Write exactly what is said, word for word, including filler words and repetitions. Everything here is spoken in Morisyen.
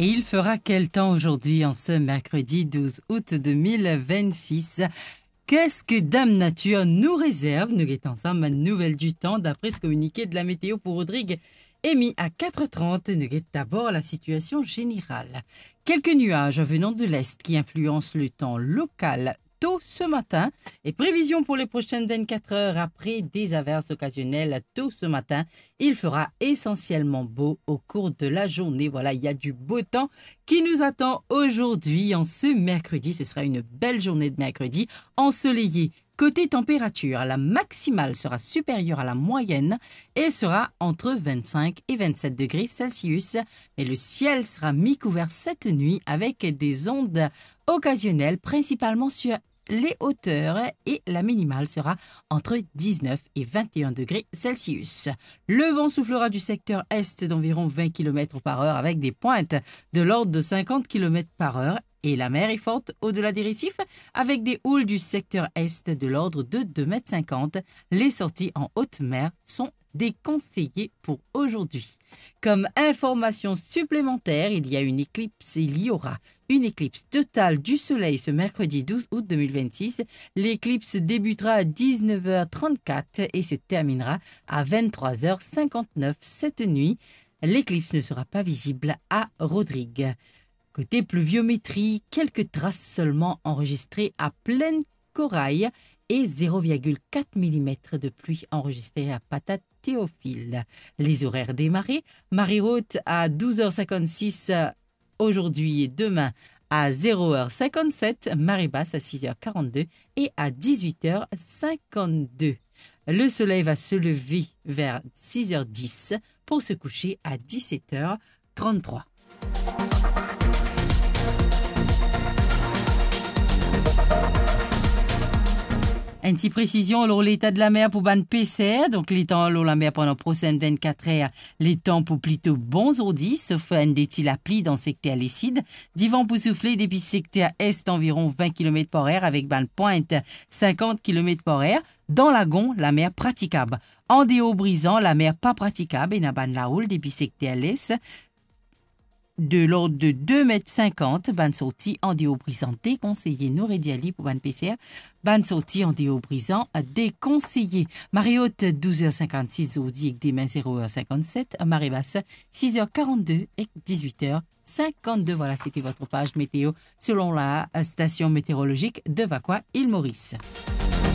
Et il fera quel temps aujourd'hui en ce mercredi douze août deux mille vingt-six ? Qu'est-ce que Dame Nature nous réserve ? Nou get ansam bann nouvel ditan d'après ce communiqué de la météo pour Rodrigue Amy à quatre heures trente. Nou get d'abord la situation générale. Quelques nuages venant de l'est qui influencent le temps local tôt ce matin. Et prévision pour les prochaines vingt-quatre heures, après des averses occasionnelles tôt ce matin, il fera essentiellement beau au cours de la journée. Voilà, il y a du beau temps qui nous attend aujourd'hui en ce mercredi. Ce sera une belle journée de mercredi ensoleillée. Côté température, la maximale sera supérieure à la moyenne et sera entre vingt-cinq et vingt-sept degrés Celsius. Mais le ciel sera mi-couvert cette nuit avec des ondes occasionnelles, principalement sur les hauteurs, et la minimale sera entre dix-neuf et vingt et un degrés Celsius. Le vent soufflera du secteur est d'environ vingt kilomètres par heure avec des pointes de l'ordre de cinquante kilomètres par heure et la mer est forte au-delà des récifs avec des houles du secteur est de l'ordre de deux mètres cinquante. Les sorties en haute mer sont déconseillées pour aujourd'hui. Comme information supplémentaire, il y a une éclipse, il y aura une éclipse totale du soleil ce mercredi douze août deux mille vingt-six. L'éclipse débutera à dix-neuf heures trente-quatre et se terminera à vingt-trois heures cinquante-neuf cette nuit. L'éclipse ne sera pas visible à Rodrigues. Côté pluviométrie, quelques traces seulement enregistrées à Plaine Corail et zéro virgule quatre millimètres de pluie enregistrée à Patate Théophile. Les horaires des marées, marée haute à douze heures cinquante-six aujourd'hui et demain à zéro heure cinquante-sept, marée basse à six heures quarante-deux et à dix-huit heures cinquante-deux. Le soleil va se lever vers six heures dix pour se coucher à dix-sept heures trente-trois. Enn ti presizion lor leta de lamer pou bann peser. Donk, letan lor lamer pandan prosenn vennkat er, letan pou plito bon zordi, sof enn de ti lapli dan sekter lesid. Divan pou soufle depi sekter est anviron vin kilomet par er avek bann pwint sinkant kilomet par er. Dan lagon, lamer pratikab. Andeor Brizan, lamer pa pratikab, ena bann laoul depi sekter les. De lord de de met sinkant, bann sorti andeor Brizan dekonseye. Nou redir li pou bann peser, bann sorti andeor Brizan dekonseye. Mare ot, douz er sinkannsis zordi ek demin, zero er sinkannset. Mare bas, sis er karannde ek diz-wit er sinkannde. Voilà, c'était votre page météo selon la, euh, station météorologique de Vacoas, Île Maurice.